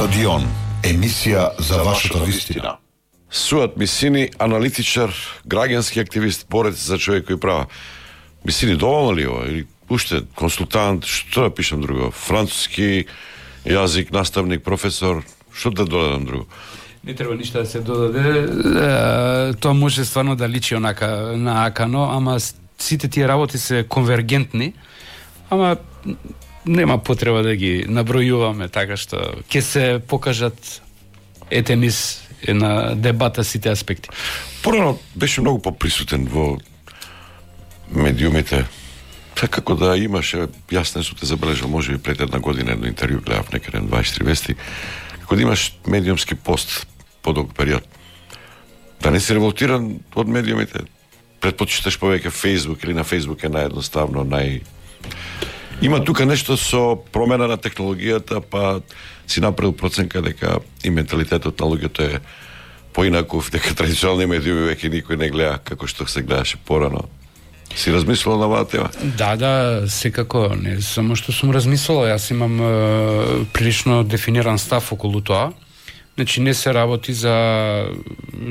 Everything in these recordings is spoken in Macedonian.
Стадион, емисија за вашата вистина. Суат Мисини, аналитичар, граѓански активист, борец за човекови права. Мисини, доволно ли ова? Или уште консултант, што да пишам друго? Француски јазик, наставник, професор, што да додадам друго? Не треба ништо да се додаде. Тоа може стварно да личи онака на акано, ама сите тие работи се конвергентни, ама нема потреба да ги набројуваме, така што ќе се покажат низ на дебата сите аспекти. Порано беше многу поприсутен во медиумите. Така како да имаше, јас не сум те забележал, може би пред една година едно интервју гледав некаде на 24 вести, како да имаш медиумски пост подолг период. Да не си револтиран од медиумите, предпочиташ повеќе Facebook или на Facebook е наједноставно, Има тука нешто со промена на технологијата, па си направил проценка дека и менталитетот на луѓето е поинаков, дека традиционални медиуми веќе никој не гледа како што се гледаше порано. Си размислувал на оваа тема? Да, секако, не само што сум размислувал, јас имам прилично дефиниран став околу тоа. Значи не се работи за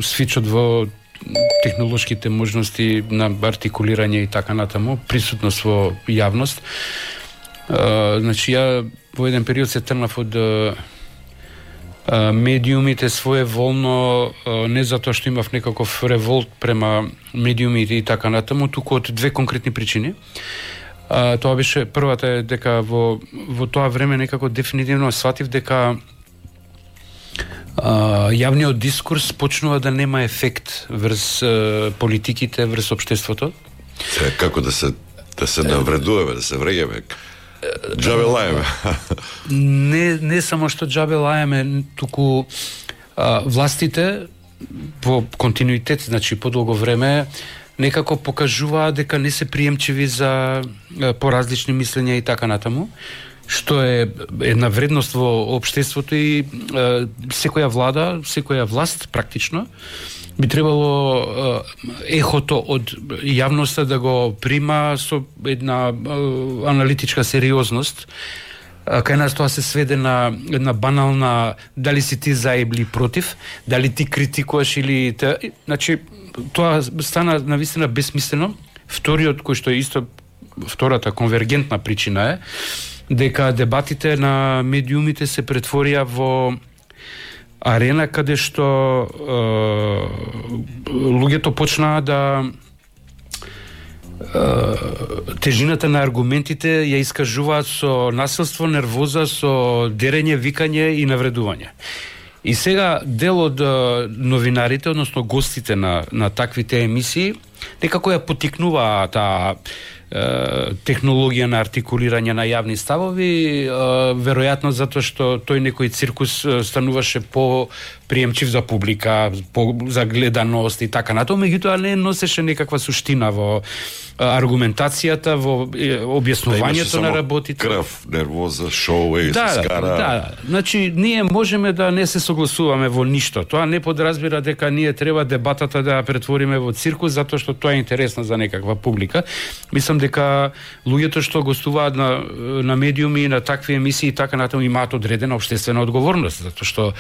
свичот во технолошките можности на артикулирање и така натаму, присутност во јавност. Значи ја во еден период се тргнав од медиумите своеволно, не затоа што имав некаков револт према медиумите и така натаму, туку од две конкретни причини. Тоа беше, првата е дека во тоа време некако дефинитивно сватив дека јавниот дискурс почнува да нема ефект врз политиките, врз општеството. Како да се навредуваме, да се вреѓаме, џабе лаеме. Не само што џабе лаеме, туку властите во континуитет, значи подолго време, некако покажуваат дека не се приемчиви за поразлични мислења и така натаму, што е една вредност во општеството и секоја влада, секоја власт практично би требало ехото од јавноста да го прима со една аналитичка сериозност. Кај нас тоа се сведе на една банална дали си ти за или против, дали ти критикуваш или значи тоа стана навистина бесмислено. Вториот кој што е исто втората конвергентна причина е дека дебатите на медиумите се претворија во арена каде што луѓето почнаа да тежината на аргументите ја искажуваат со насилство, нервоза, со дерење, викање и навредување. И сега дел од новинарите, односно гостите на таквите емисии, некако ја потикнуваа таа технологија на артикулирање на јавни ставови, веројатно затоа што тој некој циркус стануваше по приемчив за публика, за гледаност и така натаму, меѓутоа не носеше некаква суштина во аргументацијата, во објаснувањето на работите. Крв, нервоза, шоу, се скара. Да, значи ние можеме да не се согласуваме во ништо. Тоа не подразбира дека ние треба дебатата да ја претвориме во циркус затоа што тоа е интересно за некаква публика. Мислам дека луѓето што гостуваат на медиуми, на такви емисии и така натаму имаат одредена општествена одговорност, затоа што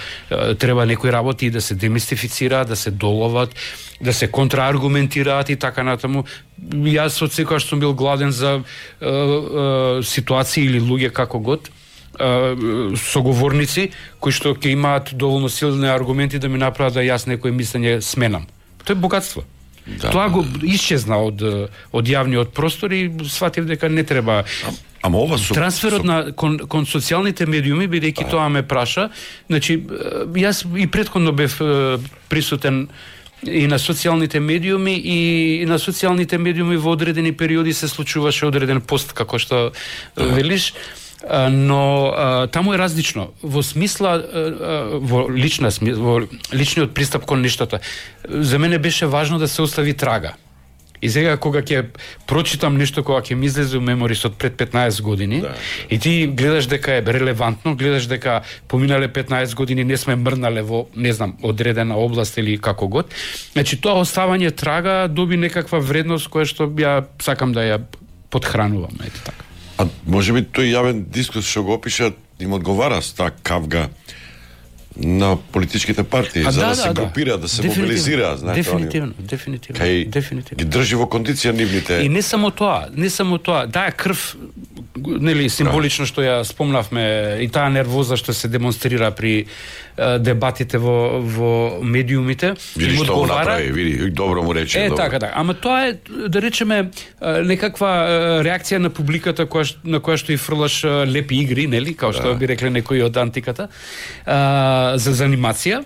треба некои работи да се демистифицираат, да се доловат, да се контрааргументираат и така натаму. Јас од секогаш сум бил гладен за ситуации или луѓе како год, соговорници кои што ќе имаат доволно силни аргументи да ми направат да јас некој мислење сменам. Тоа е богатство. Да, тоа го исчезна од јавниот простор и сватив дека не треба. Ама ова трансферот кон социјалните медиуми, бидејќи тоа ме праша, значи јас и претходно бев присутен и на социјалните медиуми и на социјалните медиуми во одредени периоди се случуваше одреден пост како што велиш, но таму е различно во смисла во личниот пристап кон нештата. За мене беше важно да се остави трага. И сега кога ќе прочитам нешто кога ќе ми излезе во меморис од пред 15 години, и ти гледаш дека е релевантно, гледаш дека поминале 15 години не сме мрнале во, не знам, одредена област или како год, значи тоа оставање трага доби некаква вредност која што ја сакам да ја подхранувам, ете така. А може би тој јавен дискурс што го опишат им одговара с таа кавга на политичките партии, за да се групираат, да се мобилизираат, знаете, Дефинитивно. Ги држи во кондиција нивните. И не само тоа, таа крв, нели, символично што ја спомнавме, и таа нервоза што се демонстрира при дебатите во медиумите, види што го направи, види, добро му рече. Така. Ама тоа е, да речеме, некаква реакција на публиката на која што и фрлаш лепи игри, нели, као што би рекле некои од антиката, за занимација.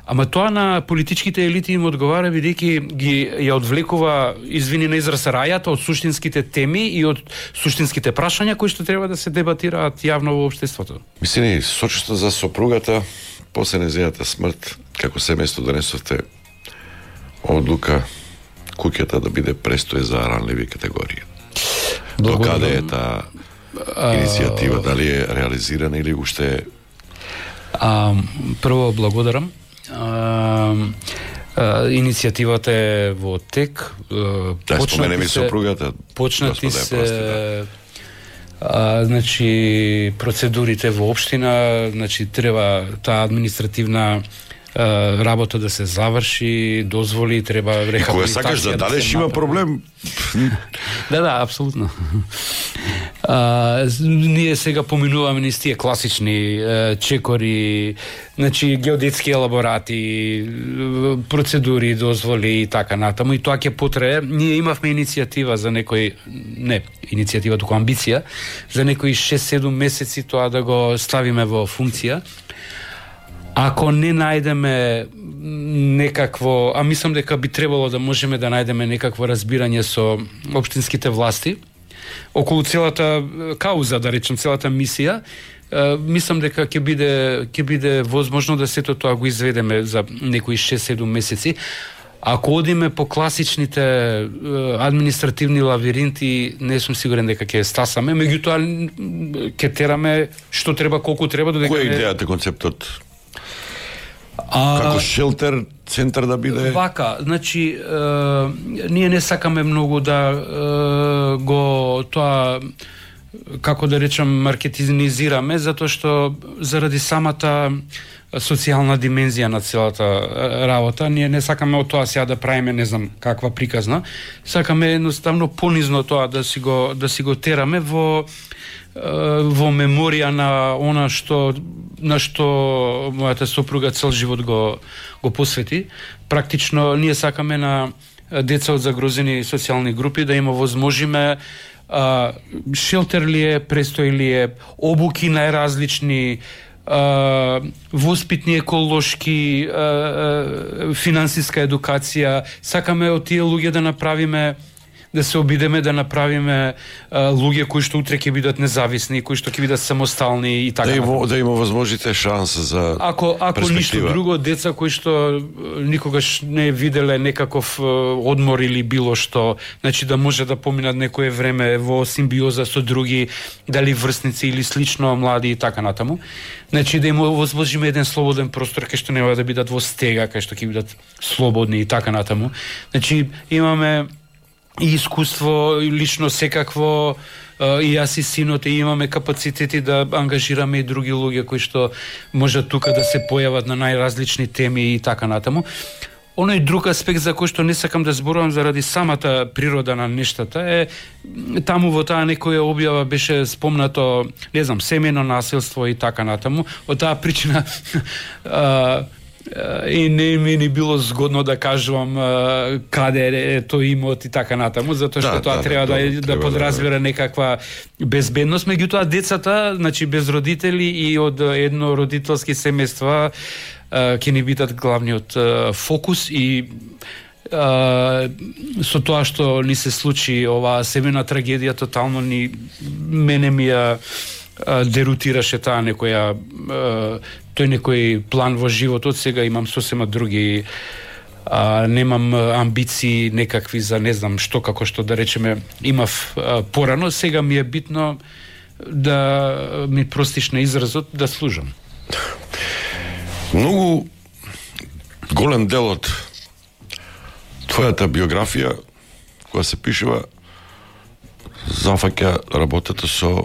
Ама тоа на политичките елити им одговара, бидејќи ги ја одвлекува, извини на израз, рајата од суштинските теми и од суштинските прашања кои што треба да се дебатираат јавно во општеството. Мислени, сочувство за сопругата, после нејзината смрт, како семејство донесовте одлука куќата да биде престој за ранливи категории. Докаде е таа иницијатива, дали е реализирана или уште е? Прво благодарам. Иницијативата е во тек. Споменеме сопругата. Почнати се значи процедурите во општина, значи треба таа административна работа да се заврши, дозволи, треба рехабилитација. И кога сакаш да дадеш има проблем. Да, апсолутно. Ние сега поминуваме низ тие класични чекори, значи геодетски елаборати, процедури, дозволи и така натаму, и тоа ќе потрае. Ние имавме иницијатива за некој, не иницијатива, туку амбиција, за некои 6-7 месеци тоа да го ставиме во функција. Ако не најдеме некакво, мислам дека би требало да можеме да најдеме некакво разбирање со општинските власти околу целата кауза, да речем, целата мисија, мислам дека ќе биде возможно да сето тоа го изведеме за некои 6-7 месеци. Ако одиме по класичните административни лавиринти, не сум сигурен дека ќе стасаме, меѓутоа ќе тераме што треба, колку треба, додека. Која е идејата, концептот? Како шелтер, центар да биде? Вака, значи, ние не сакаме многу да го тоа, како да речам, маркетинизираме, затоа што заради самата социјална димензија на целата работа, ние не сакаме од тоа сега да правиме не знам каква приказна, сакаме едноставно понизно тоа да си го тераме во меморија на она на што мојата сопруга цел живот го посвети. Практично ние сакаме на деца од загрозени социјални групи да им овозможиме шелтер ли е, престој ли е, обуки најразлични, воспитни, еколошки, финансиска едукација. Сакаме од тие луѓе да направиме, да се обидеме да направиме луѓе кои што утре ќе бидат независни, кои што ќе бидат самостални и така. Да има возможните шанса за ако ништо друго, деца кои што никогаш не виделе некаков одмор или било што, значи да може да поминат некое време во симбиоза со други, дали врсници или слично млади и така натаму. Значи да им возможиме еден слободен простор кај што нема да бидат во стега, кај што ќе бидат слободни и така натаму. Значи имаме и искуство, лично секакво, и јас и синот, и имаме капацитети да ангажираме и други луѓе кои што можат тука да се појават на најразлични теми и така натаму. Оној друг аспект за кој што не сакам да зборувам заради самата природа на нештата е таму во таа некоја објава беше спомнато, не знам, семејно насилство и така натаму. Од таа причина и не ми ни било згодно да кажувам каде е тој имот и така натаму, затоа што тоа треба да подразбира некаква безбедност. Меѓутоа децата, значи без родители и од еднородителски семејства ќе ни бидат главниот фокус и со тоа што ни се случи оваа семејна трагедија, тотално мене ми ја дерутираше таа некоја тој некој план во животот. Сега имам сосема други, немам амбиции некакви за не знам што, како што да речеме имав порано. Сега ми е битно да ми простиш на изразот, да служам. Многу голем дел од твојата биографија која се пишува зафаќа работата со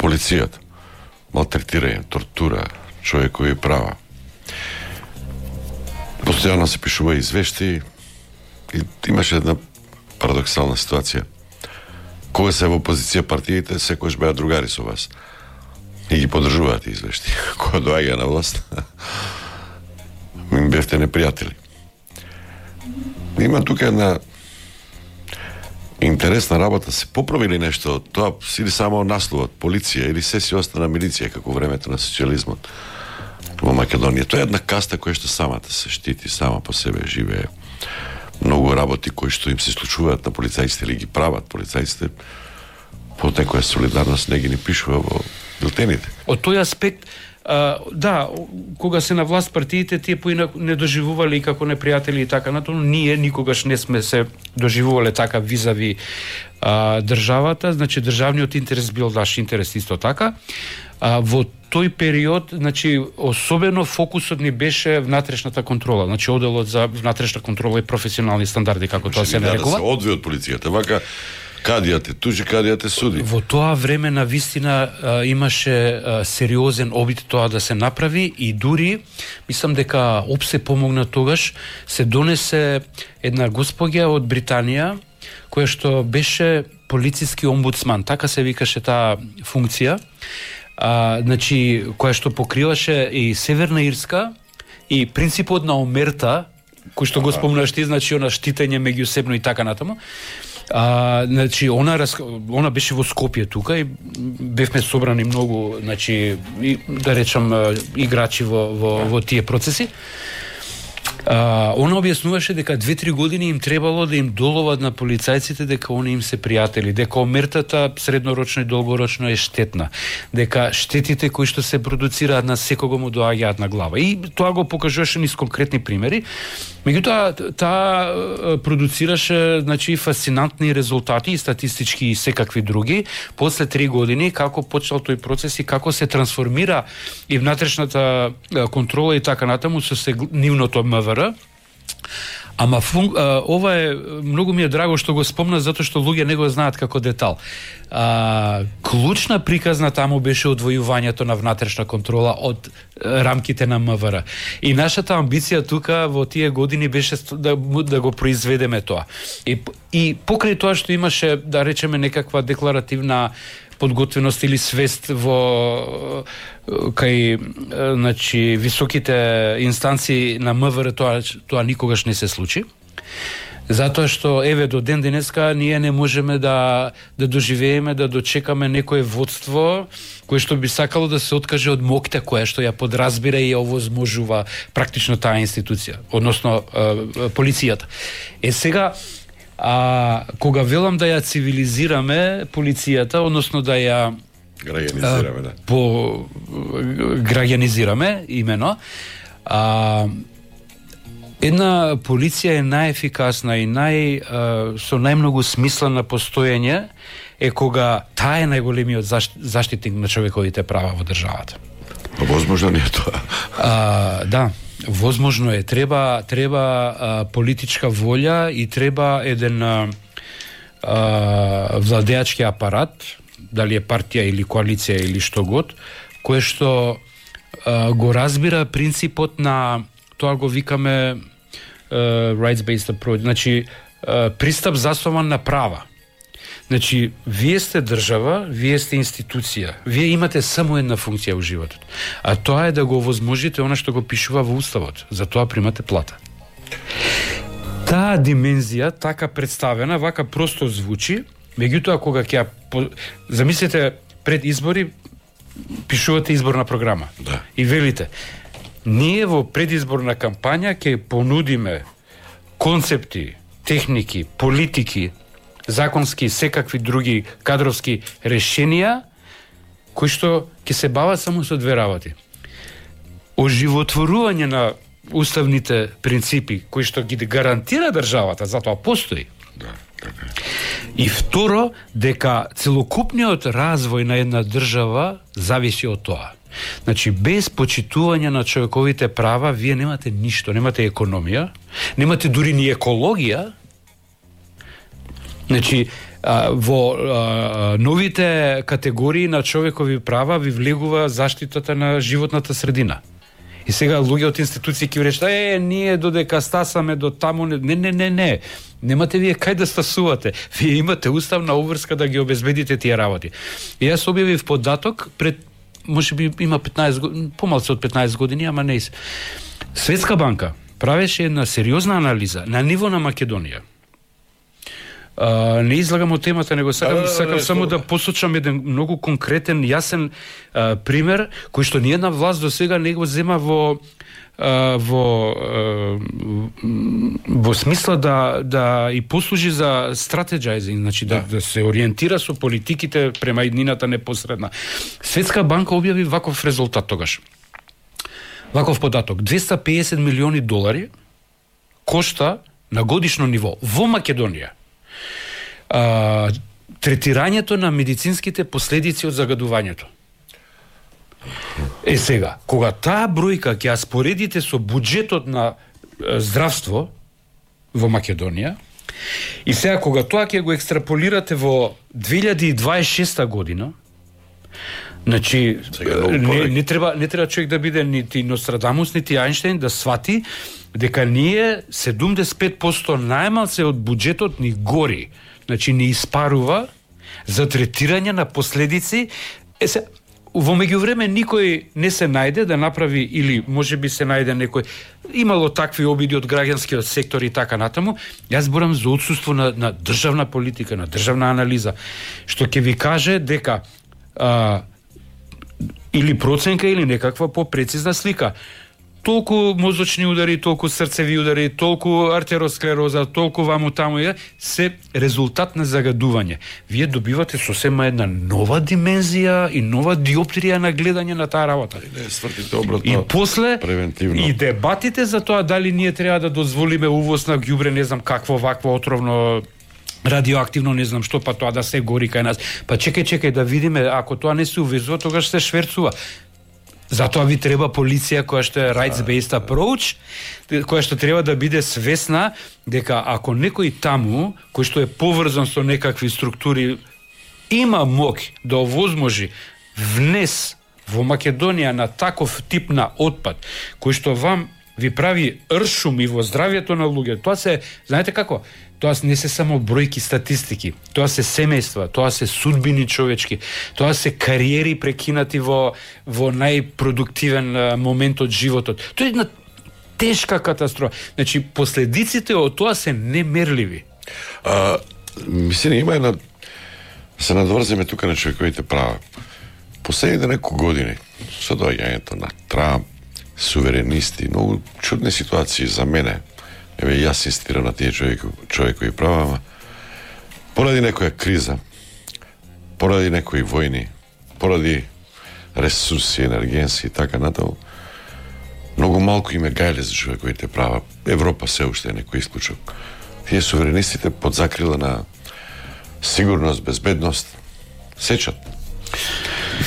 полицијата, малтретирање, тортура, човекови права. Постојано се пишува извешти и имаше една парадоксална ситуација. Кога се во опозиција партиите, секојаш беа другари со вас. И ги поддржуваат извешти. Кога доаѓа на власт, им бевте непријатели. Има тука една интересна работа. Се поправи ли нешто? Тоа или само насловот, полиција, или се си остана милиција, како времето на социјализмот во Македонија. Тоа е една каста која што самата се штити, сама по себе живее. Многу работи кои што им се случуваат на полицајците или ги прават полицајците, по некоја солидарност не ги ни пишува во билтените. Од тој аспект, да, кога се на власт партиите, тие поинак не доживувале и како непријатели и така натаму, ние никогаш не сме се доживувале така визави државата, значи државниот интерес бил наш интерес исто така. Во тој период, значи, особено фокусот ни беше внатрешната контрола, значи оделот за внатрешна контрола и професионални стандарди, како тоа се нарекува. Да се одвие од полицијата, вака кадијате тужи, кадијате суди. Во тоа време на вистина имаше сериозен обид тоа да се направи и дури, мислам дека опсе помогна тогаш, се донесе една госпоѓа од Британија, која што беше полициски омбудсман, така се викаше таа функција, значи, која што покриваше и Северна Ирска и принципот на омерта, кој што го спомнаш ти, значи она штитење меѓусебно и така натаму. Значи она беше во Скопје тука и бевме собрани многу, значи, да речам, играчи во тие процеси. Она објаснуваше дека 2-3 години им требало да им доловат на полицајците дека они им се пријатели, дека омертата среднорочно и долгорочно е штетна, дека штетите кои што се продуцираат на секого му доаѓаат на глава. И тоа го покажуваше низ конкретни примери. Меѓутоа, таа продуцираше, значи, фасцинантни резултати и статистички и секакви други. После 3 години, како почнал тој процес и како се трансформира и внатрешната контрола и така натаму со нивното МВР. Ама ова е, многу ми е драго што го спомна, затоа што луѓе не го знаат како детал. Клучна приказна таму беше одвојувањето на внатрешна контрола од рамките на МВР. И нашата амбиција тука во тие години беше да го произведеме тоа. И покрај тоа што имаше, да речеме, некаква декларативна подготвеност или свест во кај, значи, високите инстанции на МВР, тоа никогаш не се случи. Затоа што, еве, до ден денеска ние не можеме да доживееме, да дочекаме некое водство кое што би сакало да се откаже од моќта која што ја подразбира и ја овозможува практично таа институција, односно полицијата. Сега, кога велам да ја цивилизираме полицијата, односно да ја граѓанизираме, да. Граѓанизираме, имено, една полиција е најефикасна и со најмногу смисла на постоење е кога таа е најголемиот заштитник на човековите права во државата. Возможно не е тоа. Да. Возможно е, треба политичка волја и треба еден владеачки апарат, дали е партија или коалиција или што год, кој што го разбира принципот на, тоа го викаме rights-based approach, значи пристап заснован на права. Значи, вие сте држава, вие сте институција, вие имате само една функција во животот, а тоа е да го овозможите она што го пишува во Уставот, за тоа примате плата. Таа димензија, така представена, вака просто звучи, меѓутоа кога ќе замислите пред избори, пишувате изборна програма. Да. И велите, ние во предизборна кампања ќе понудиме концепти, техники, политики, законски, секакви други кадровски решенија, кои што ќе се бават само со две работи. Оживотворување на уставните принципи, кои што ги гарантира државата, затоа постои. Да, така. И второ, дека целокупниот развој на една држава зависи од тоа. Значи, без почитување на човековите права, вие немате ништо, немате економија, немате дури ни екологија. Значи, Во новите категории на човекови права ви влегува заштитата на животната средина. И сега луѓе од институции ќе речат, ние додека стасаме до таму, не. Немате вие кај да стасувате. Вие имате уставна обврска да ги обезбедите тие работи. И јас објавив податок пред, можеби има 15 години, помалку од 15 години, ама не. Светска банка правеше една сериозна анализа на ниво на Македонија. Не излагам од темата, него сакам само да посочам еден многу конкретен, јасен пример, кој што ниедна власт до сега не го зема во смисла да и послужи за стратеджајзинг, значи да се ориентира со политиките према иднината непосредна. Светска банка објави ваков резултат тогаш. Ваков податок, $250 милиони кошта на годишно ниво во Македонија третирањето на медицинските последици од загадувањето. Сега, кога таа бројка ќе ја споредите со буџетот на здравство во Македонија, и сега кога тоа ќе го екстраполирате во 2026 година, значи не треба човек да биде нити Нострадамус, нити Ајнштейн да свати дека ние 75% најмалце од буџетот ни гори. Значи не испарува за третирање на последици. Во меѓувреме никој не се најде да направи, или можеби се најде некој, имало такви обиди од граѓанскиот сектор и така натаму. Јас зборам за отсуство на државна политика, на државна анализа, што ќе ви каже дека или проценка или некаква попрецизна слика. Толку мозочни удари, толку срцеви удари, толку артеросклероза, толку ваму таму се резултат на загадување. Вие добивате сосема една нова димензија и нова диоптрија на гледање на таа работа. И после превентивно. И дебатите за тоа дали ние треба да дозволиме увоз на ѓубре, не знам какво вакво отровно радиоактивно, не знам што, па тоа да се гори кај нас. Па чекај да видиме, ако тоа не се увезува, тогаш се шверцува. Затоа ви треба полиција која што е rights-based approach, која што треба да биде свесна дека ако некој таму, кој што е поврзан со некакви структури, има мок да овозможи внес во Македонија на таков тип на отпад, кој што вам ви прави ршум и во здравјето на луѓе, тоа се, знаете како? Тоа не се само бројки статистики, тоа се семејства, тоа се судбини човечки, тоа се кариери прекинати во најпродуктивен момент од животот. Тоа е една тешка катастрофа. Значи, последиците од тоа се немерливи. Мислам, има една... Се надврземе тука на човековите права. Последните неколку години, со доаѓањето на Трамп, суверенисти, многу чудни ситуации за мене. Еве, јас инсистирам на тие човекови права, ама поради некоја криза, поради некои војни, поради ресурси, енергенси и така натаму, многу малку име гајле за човековите права. Европа се уште е некој исклучок. Тие суверенистите под закрила на сигурност, безбедност, сечат.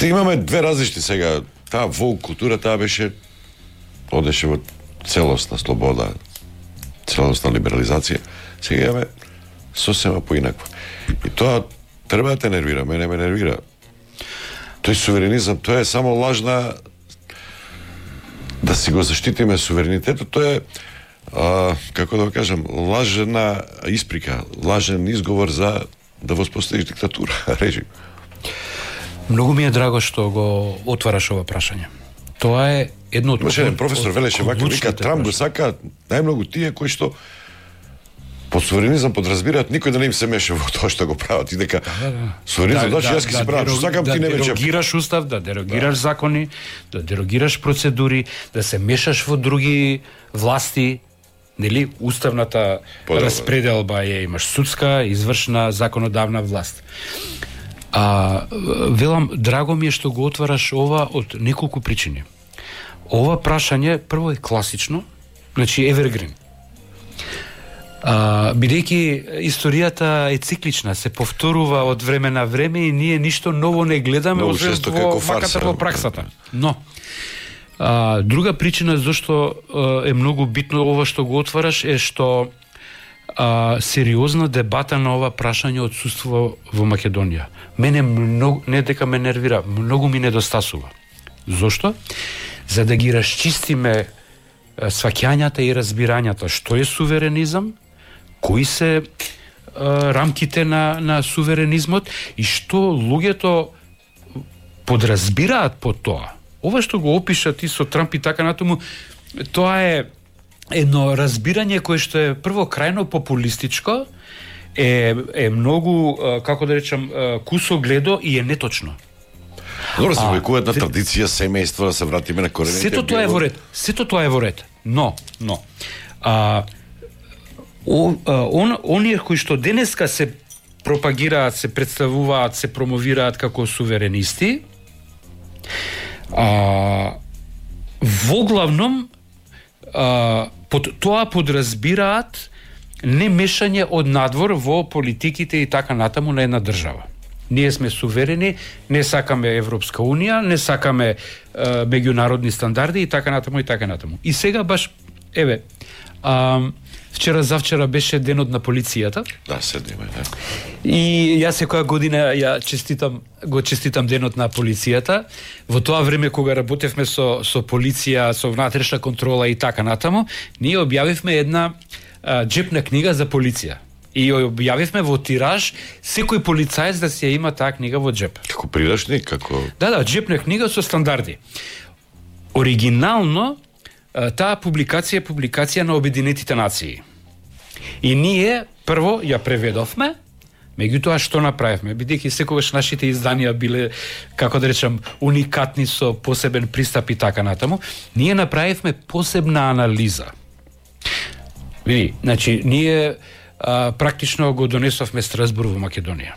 Имаме две различни сега. Таа волк култура, таа одеше во целосна слобода, целосна либерализација. Сега имаме сосема поинаква. И тоа треба да те нервира, мене ме нервира. Тој суверенизам, тоа е само лажна да си го заштитиме суверенитетот, тоа е како да го кажам, лажна исприка, лажен изговор за да воспоставиш диктатура, режим. Многу ми е драго што го отвараш ова прашање. Тоа е едно од... Имаше еден професор велеше вака, вика, Трамп го сака најмногу тие кои што под суверенизам подразбираат никој да не им се меше во тоа што го прават и дека суверенизам значи јас ќе си правам што сакам, ти не мече. Да дерогираш устав, да дерогираш закони, да дерогираш процедури, да се мешаш во други власти, нели, уставната распределба е, имаш судска, извршна, законодавна власт. Велам, драго ми е што го отвараш ова од неколку причини. Ова прашање прво е класично, значи evergreen. Бидејќи историјата е циклична, се повторува од време на време и ние ништо ново не гледаме освен во маката во праксата. Но друга причина зашто е многу битно ова што го отвараш е што сериозна дебата на ова прашање отсуство во Македонија. Мене многу, не дека ме нервира, многу ми недостасува. Зошто? За да ги расчистиме сваќањата и разбирањата што е суверенизам, кои се рамките на суверенизмот и што луѓето подразбираат под тоа. Ова што го опиша ти со Трамп и така натаму, тоа е едно разбирање кое што е прво крајно популистичко, е многу, како да речам, кусогледо и е неточно. Добро, се векува една традиција, семејство, да се вратиме на корените. Сето тоа е во ред. Сето тоа е во ред. Но оние кои што денеска се пропагираат, се представуваат, се промовираат како суверенисти, во главном под тоа подразбираат немешање од надвор во политиките и така натаму на една држава. Ние сме суверени, не сакаме Европска унија, не сакаме меѓународни стандарди и така натаму и така натаму. И сега баш, еве, завчера беше денот на полицијата. Да, седиме, да. И јас секоја година го честитам денот на полицијата. Во тоа време кога работевме со полиција, со внатрешна контрола и така натаму, ние објавивме една џепна книга за полиција. И ја објавивме во тираж секој полицаец да си ја има таа книга во џеп. Како прирачник, како... Да, џепна книга со стандарди. Оригинално, таа публикација е публикација на Обединетите нации. И ние, прво, ја преведовме, меѓутоа што направивме? Бидејќи секогаш нашите изданија биле, како да речам, уникатни со посебен пристап и така натаму, ние направивме посебна анализа. Види, значи, ние практично го донесовме Страсбур во Македонија.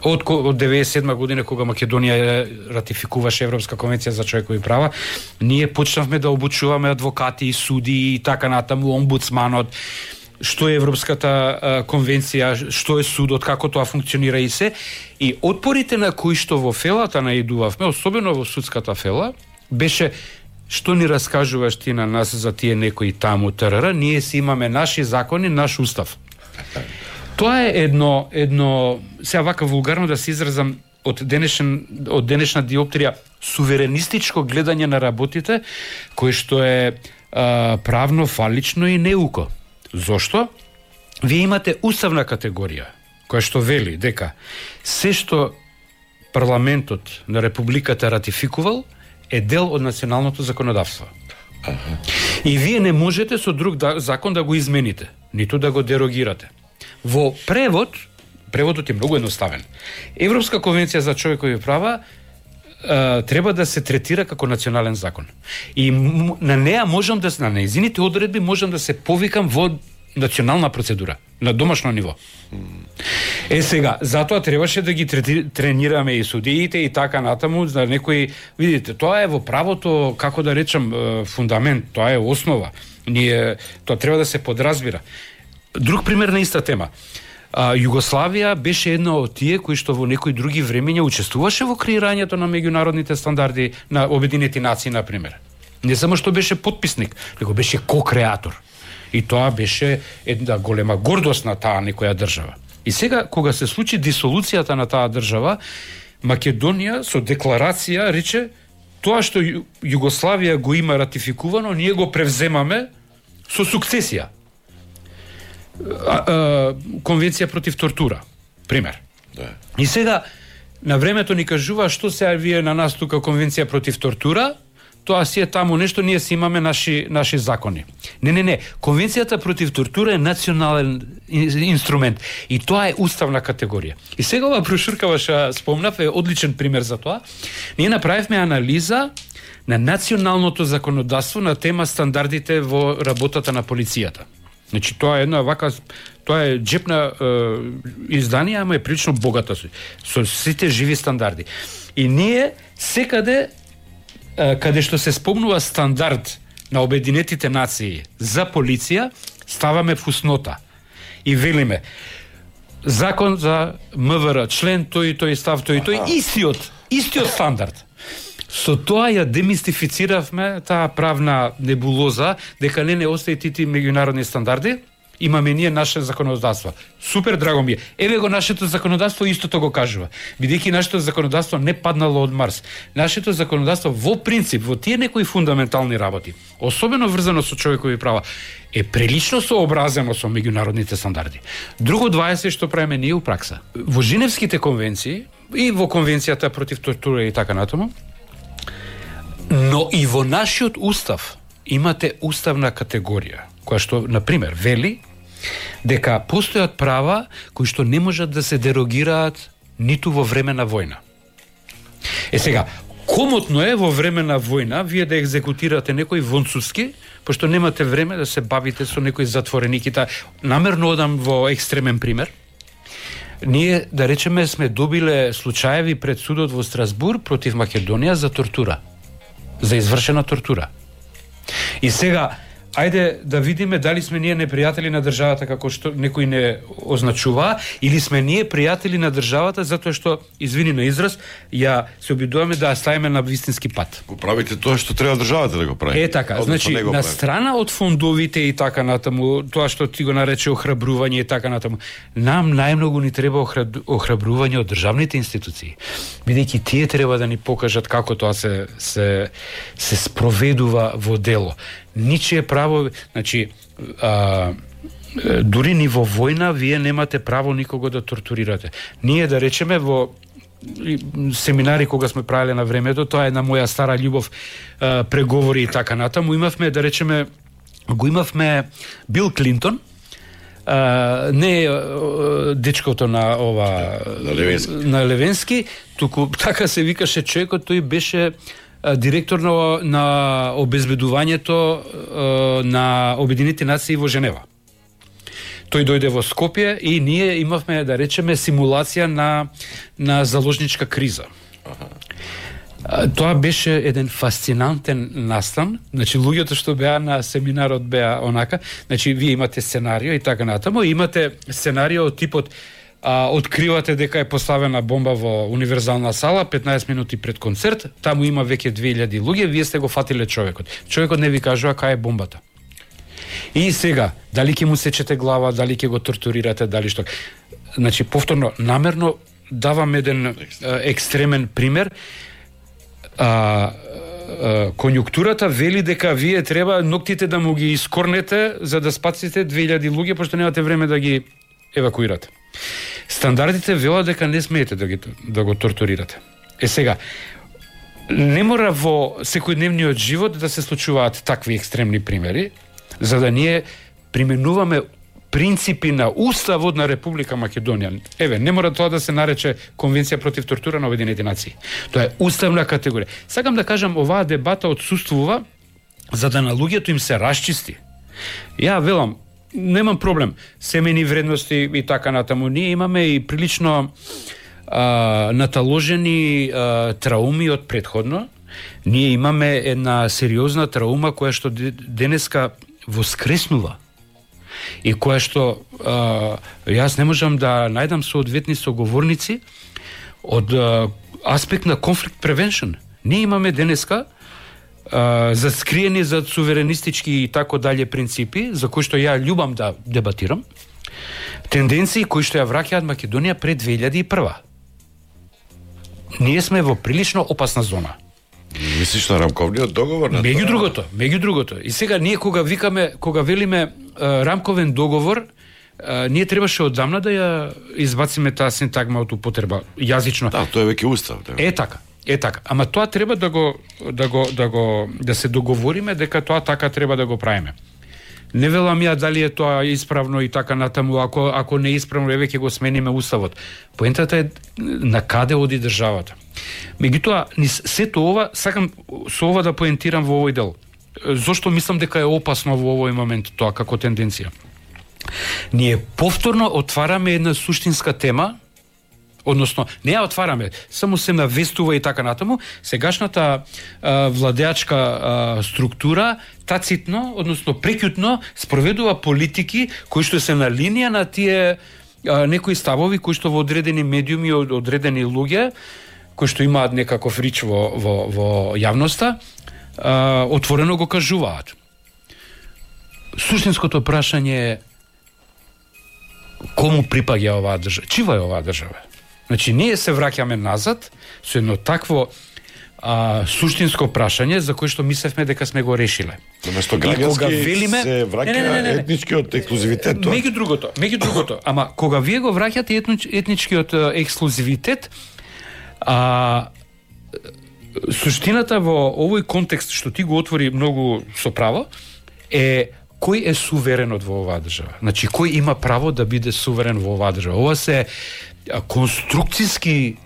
Од 97 година, кога Македонија ратификуваше Европска конвенција за човекови права, ние почнавме да обучуваме адвокати, суди и така натаму, омбудсманот, што е Европската конвенција, што е судот, како тоа функционира и се. И отпорите на кои што во фелата наидувавме, особено во судската фела, беше што ни раскажуваш ти на нас за тие некои таму ТРР, ние си имаме наши закони, наш устав. Тоа е едно сега вака вулгарно да се изразам од денешна диоптрија, суверенистичко гледање на работите, кое што е правно фалично и неуко. Зошто? Вие имате уставна категорија, која што вели дека се што парламентот на Републиката ратификувал е дел од националното законодавство. И вие не можете со друг закон да го измените, ниту да го дерогирате. Во преводот е многу едноставен. Европска конвенција за човекови права треба да се третира како национален закон. И на неа можам да на нејзините одредби можам да се повикам во национална процедура, на домашно ниво. Сега, затоа требаше да ги тренираме и судиите и така натаму, за некои, видите, тоа е во правото, како да речам, фундамент, тоа е основа. Тоа треба да се подразбира. Друг пример на иста тема. Југославија беше една од тие кои што во некои други времења учествуваше во креирањето на меѓународните стандарди на Обединети нации, на пример. Не само што беше потписник, него беше ко-креатор. И тоа беше една голема гордост на таа некоја држава. И сега, кога се случи дисолуцијата на таа држава, Македонија со декларација рече тоа што Југославија го има ратификувано, ние го превземаме со сукцесија. Конвенција против тортура, пример. Да. И сега, на времето ни кажува што се вие на нас тука конвенција против тортура, тоа си е таму нешто, ние си имаме наши закони. Не. Конвенцијата против тортура е национален инструмент и тоа е уставна категорија. И сега ова брошурка ваша спомнав е одличен пример за тоа. Ние направивме анализа на националното законодавство на тема стандардите во работата на полицијата. Значи тоа е една вака, тоа е џепна изданија, ама е прилично богата со сите живи стандарди. И ние секаде каде што се спомнува стандард на Обединетите нации за полиција, ставаме фуснота и велиме закон за МВР, член тој и тој, став тој и тој, истиот стандард. Со тоа ја демистифициравме таа правна небулоза дека не остаи тити меѓународни стандарди Имаме ние наше законодавство. Супер, драго ми е. Еве го нашето законодавство истото го кажува. Бидејќи нашето законодавство не паднало од Марс. Нашето законодавство во принцип, во тие некои фундаментални работи, особено врзано со човекови права, е прилично сообразено со меѓународните стандарди. Друго 20 што правиме ние у пракса. Во Женевските конвенции и во конвенцијата против тортура и така натаму, но и во нашиот устав имате уставна категорија, која што, например, вели дека постојат права кои што не можат да се дерогираат ниту во време на војна. Сега, комотно е во време на војна вие да екзекутирате некој вонцуски, пошто немате време да се бавите со некој затворениките. Намерно одам во екстремен пример. Ние, да речеме, сме добиле случаеви пред судот во Страсбур против Македонија за тортура. За извршена тортура. И сега, ајде да видиме дали сме ние непријатели на државата како што некои не означува, или сме ние пријатели на државата затоа што, извини на израз, ја се обидуваме да ја ставиме на вистински пат. Го правите тоа што треба државата да го прави. Така, значи на страна од фондовите и така натаму, тоа што ти го нарече охрабрување и така натаму, нам најмногу ни треба охрабрување од државните институции. Бидејќи тие треба да ни покажат како тоа се спроведува во дело. Ничие право, значи, дури ни во војна вие немате право никого да тортурирате. Ние, да речеме, во семинари кога сме правеле на времето, тоа е на моја стара љубов, преговори и така натаму, имавме, да речеме, го имавме Бил Клинтон, не дечкото на на Левенски, туку така се викаше човекот, тој беше директор на обезбедувањето на Обединетите нации во Женева. Тој дојде во Скопје и ние имавме, да речеме, симулација на заложничка криза. Тоа беше еден фасцинантен настан. Значи, луѓето што беа на семинарот беа онака, значи, вие имате сценарио и така натаму, имате сценарио од типот откривате дека е поставена бомба во универзална сала 15 минути пред концерт, таму има веќе 2000 луѓе, вие сте го фатиле човекот. Човекот не ви кажува кај е бомбата. И сега, дали ќе му сечете глава, дали ќе го тортурирате, дали што. Значи, повторно, намерно давам еден екстремен пример. Конјунктурата вели дека вие треба ноктите да му ги искорнете за да спасите 2000 луѓе, пошто немате време да ги евакуирате. Стандардите велат дека не смеете да го тортурирате. Сега, не мора во секојдневниот живот да се случуваат такви екстремни примери, за да ние применуваме принципи на Уставот на Република Македонија. Еве, не мора тоа да се нарече Конвенција против тортура на Обединетите нации. Тоа е уставна категорија. Сакам да кажам, оваа дебата отсуствува за да на луѓето им се расчисти. Ја велам, немам проблем, семени вредности и така натаму. Ние имаме и прилично наталожени трауми од претходно. Ние имаме една сериозна траума која што денеска воскреснува и која што јас не можам да најдам соодветни соговорници од аспект на conflict prevention. Ние имаме денеска заскриени за суверенистички и тако далje принципи, за кои што ја љубам да дебатирам, тенденции кои што ја враќаат Македонија пред 2001. Ние сме во прилично опасна зона. Мислиш на рамковниот договор? Меѓу другото. И сега ние кога велиме рамковен договор, ние требаше одамна да ја избациме таа синтагма од употреба јазично. Да, тоа е веќе устав. Да. Е така. Ама тоа треба да се договориме дека тоа така треба да го правиме. Не велам ја дали е тоа исправно и така натаму, ако не е исправно, еве ќе го смениме уставот. Поентата е на каде оди државата. Меѓутоа, сето ова, сакам со ова да поентирам во овој дел. Зошто мислам дека е опасно во овој момент тоа како тенденција? Ние повторно отвараме една суштинска тема, односно, не ја отвараме, само се навестува и така натаму, сегашната владеачка структура тацитно, односно прекјутно, спроведува политики кои што се на линија на тие некои ставови кои што во одредени медиуми, одредени луѓе, кои што имаат некаков рич во јавноста, отворено го кажуваат. Суштинското прашање е кому припаѓа оваа држава? Чива е оваа држава? Значи, ние се враќаме назад со едно такво суштинско прашање за кое што мислевме дека сме го решиле. Наместо граѓански се враќа етничкиот ексклузивитет. Меѓу другото, ама кога вие го враќате етничкиот ексклузивитет, суштината во овој контекст што ти го отвори многу со право е кој е суверенот во оваа држава. Значи, кој има право да биде суверен во оваа држава. Ова се конструкциски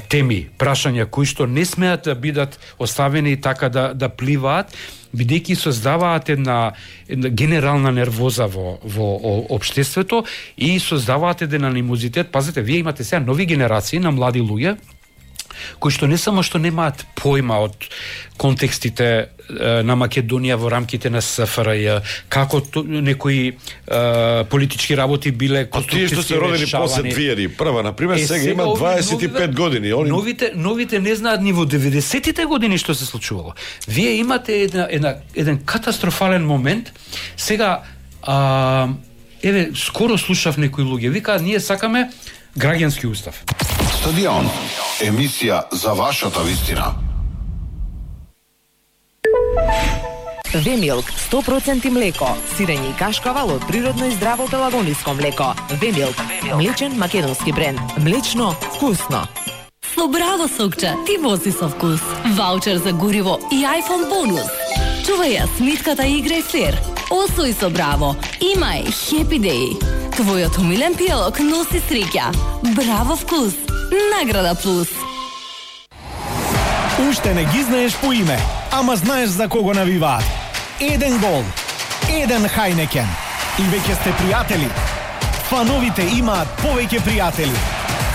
теми, прашања кои што не смеат да бидат оставени така да пливаат, бидејќи создаваат една генерална нервоза во општеството и создаваат еден анимозитет. Пазете, вие имате сега нови генерации на млади луѓе кои што не само што немаат појма од контекстите на Македонија во рамките на СФРЈ, како некои политички работи биле конструктивски решавани. Тие што се родени после 2001, например, сега има 25 години. Новите не знаат ни во 90-тите години што се случувало. Вие имате еден катастрофален момент. Сега, скоро слушав некои луѓе, викаат, ние сакаме граѓански устав. Стадион, емисија за вашата вистина. Вемилк 100% млеко, сирење и кашкавал од природно и здраво пелагониско млеко. Вемилк, млечен македонски бренд. Млечно, вкусно. Со Браво сокче, ти вози со вкус. Ваучер за гориво и iPhone бонус. Чувај ја смитката играј флер. Освој со Браво. Имај Happy Day. Твојот умилен пијалок носи среќа. Браво вкус. Награда плюс. Уште не ги знаеш по име, ама знаеш за кого навиваат. Еден гол, еден Хајнекен. И веќе сте пријатели. Фановите имаат повеќе пријатели.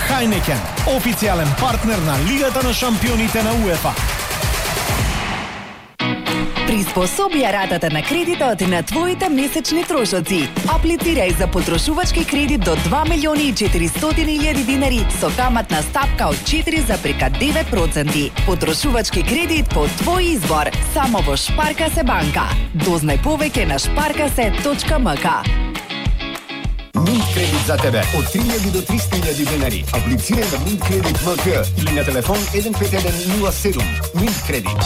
Хајнекен, официјален партнер на Лигата на шампионите на УЕФА. Приспособи ја ратата на кредитот на твоите месечни трошоци. Аплицирај за потрошувачки кредит до 2.400.000 динари со каматна стапка од 4,9%. Потрошувачки кредит по твој избор, само во Шпаркасе банка. Дознај повеќе на шпаркасе.мк. Минт кредит за тебе од 3.000 до 300.000 динари. Аплицирај на Минт кредит МК или на телефон 15107. Минт кредит.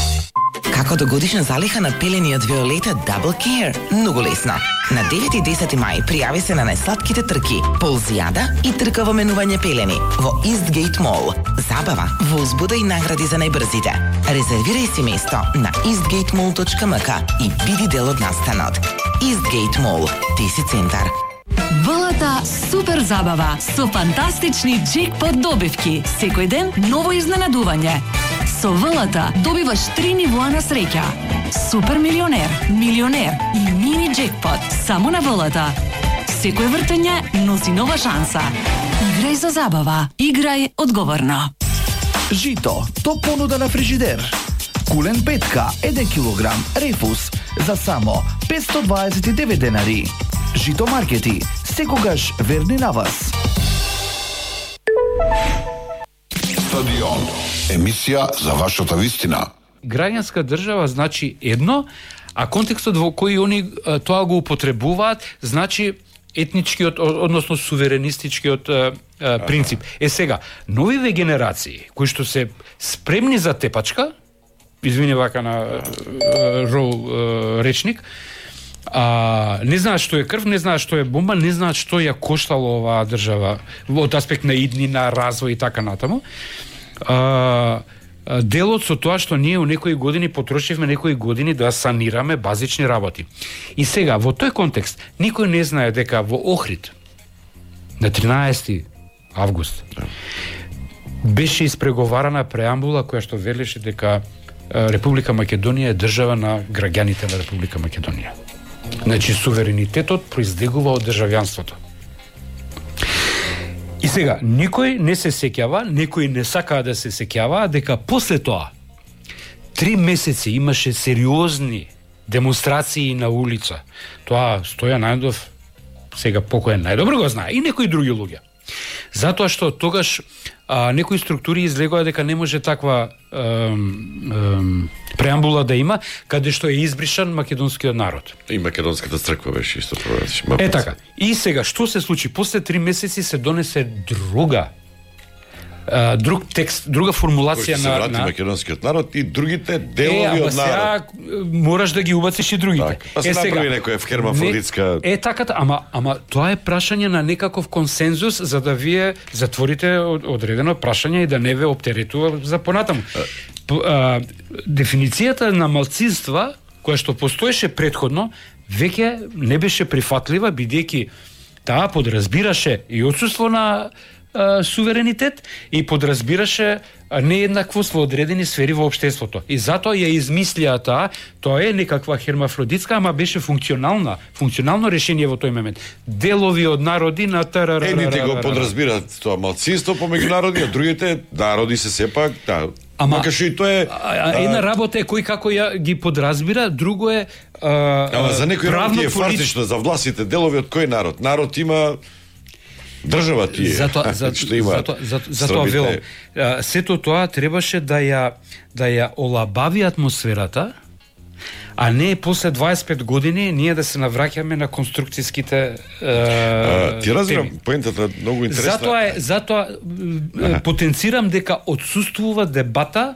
Како до годишна залиха на пелени од Виолета Double Care? Многу лесно. На 9 и 10 мај пријави се на најсладките трки, ползијада и трка во менување пелени во Eastgate Mall. Забава, возбуда и награди за најбрзите. Резервирај си место на eastgatemall.mk и биди дел од настанот. Eastgate Mall, ти си центар. ВЛТ супер забава со фантастични джекпот добивки. Секој ден ново изненадување. Со ВЛТ добиваш 3 нивоа на среќа. Супер милионер, милионер и мини джекпот само на ВЛТ. Секој вртење носи нова шанса. Играј за забава. Играј одговорно. Жито, топ понуда на фрижидер. Кулен петка, 1 килограм, рефус за само 529 денари. Жито маркети, секогаш верни на вас. Стадион, емисија за вашата вистина. Граѓанска држава значи едно, а контекстот во кој они тоа го употребуваат значи етничкиот, односно суверенистичкиот принцип. Сега, новиве генерации кои што се спремни за тепачка, извини вака на речник, не знаат што е крв, не знаат што е бомба, не знаат што ја коштало оваа држава од аспект на иднина, развој и така натаму. Делот со тоа што ние у некои години потрошивме некои години да санираме базични работи. И сега, во тој контекст, никој не знае дека во Охрид на 13 август беше испреговарана преамбула која што велеше дека Република Македонија е држава на граѓаните на Република Македонија. Значи, суверенитетот произлегува од државјанството. И сега, никој не се сеќава, некои не сакаа да се сеќава, дека после тоа 3 месеци имаше сериозни демонстрации на улица. Тоа Стојан Најдов, сега покоен најдобро го знае, и некои други луѓе. Затоа што тогаш некои структури излегоа дека не може таква преамбула да има, каде што е избришан македонскиот народ. И македонската црква беше исто проведеш. Така. И сега, што се случи? После 3 месеци се донесе друг текст, друга формулација на македонскиот народ и другите делови од народ. Сега мораш да ги убациш и другите. Так, па се направи некоја хермафродитска. Така, ама тоа е прашање на некаков консензус за да вие затворите одредено прашање и да не ве оптеретува за понатаму. Дефиницијата на малцинства која што постоеше претходно веќе не беше прифатлива, бидејќи таа подразбираше и отсуство на суверенитет и подразбираше нееднаквост во одредени сфери во општеството. И затоа ја измислија тоа е некаква хермафродитска, ама беше функционално решение во тој момент. Делови од народи на тарара. Едните го подразбираат тоа малцинство помеѓу народи, а другите народи се сепак, макар што и тоа е една работа е кој како ја ги подразбира, друго е ама за некој работи е фартично за властите делови од кој народ. Народ има држава тие. Затоа велам, сето тоа требаше да ја олабави атмосферата, а не после 25 години ние да се навраќаме на конструкцијските ти разбирам, поентата многу интересна. Затоа потенцирам дека отсуствува дебата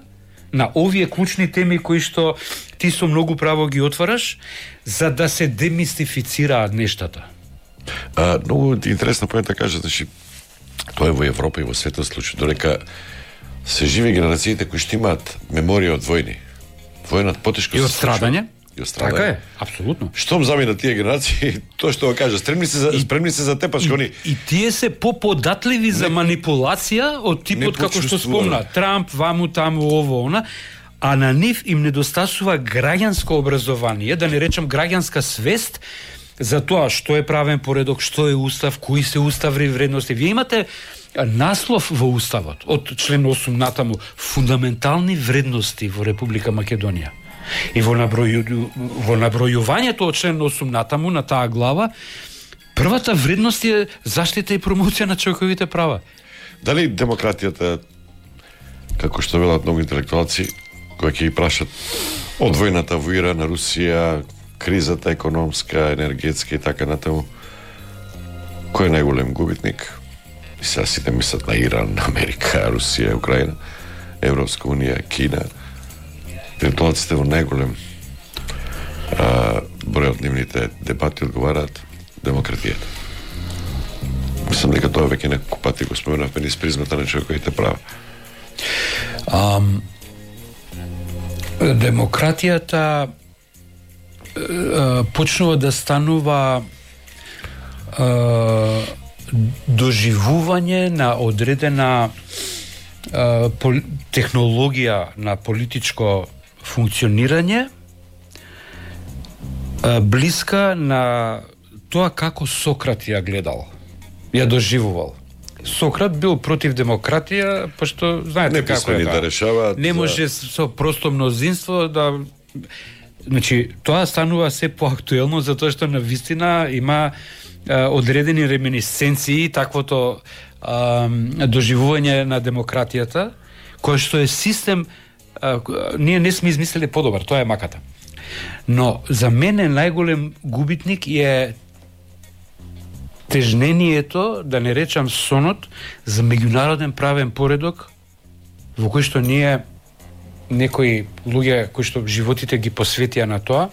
на овие клучни теми кои што ти со многу право ги отвараш, за да се демистифицираат нештата. Многу интересна поента кажа, значи, тоа е во Европа и во светот случај, додека се живи генерациите кои што имаат меморија од војни. Војнат потешко и од страдање. Така е, апсолутно. Штом замина тие генерации, тоа што го кажа, спремни се за тепаш они. И тие се поподатливи за манипулација од типот како што спомна Трамп, ваму таму ово она, а на нив им недостасува граѓанско образование, да не речам граѓанска свест за тоа што е правен поредок, што е устав, кои се уставни вредности. Вие имате наслов во уставот од член 8 натаму фундаментални вредности во Република Македонија. И во набројувањето од член 8 натаму на таа глава, првата вредност е заштита и промоција на човековите права. Дали демократијата, како што велат многу интелектуалци, кои ќе ги прашат од војната во Иран, на Русија, кризата економска, енергетска и така натаму, кој е најголем губитник? И сега сите мислат на Иран, Америка, Русија, Украина, Европска унија, Кина. Интелектуалците во најголем број од нивните дебати одговараат демократијата. Мислам дека тоа веќе неколку пати го споменавме низ призмата на човековите права. Демократијата почнува да станува доживување на одредена технологија на политичко функционирање, блиска на тоа како Сократ ја гледал, ја доживувал. Сократ бил против демократија, пошто знаете како е да решаваат. Не може со просто мнозинство да. Значи, тоа станува се поактуелно затоа што на вистина има одредени реминисценции таквото доживување на демократијата, кој што е систем ние не сме измислили подобар, тоа е маката. Но за мене најголем губитник е тежнението, да не речам сонот, за меѓународен правен поредок во кој што ние некои луѓе кои што животите ги посветија на тоа.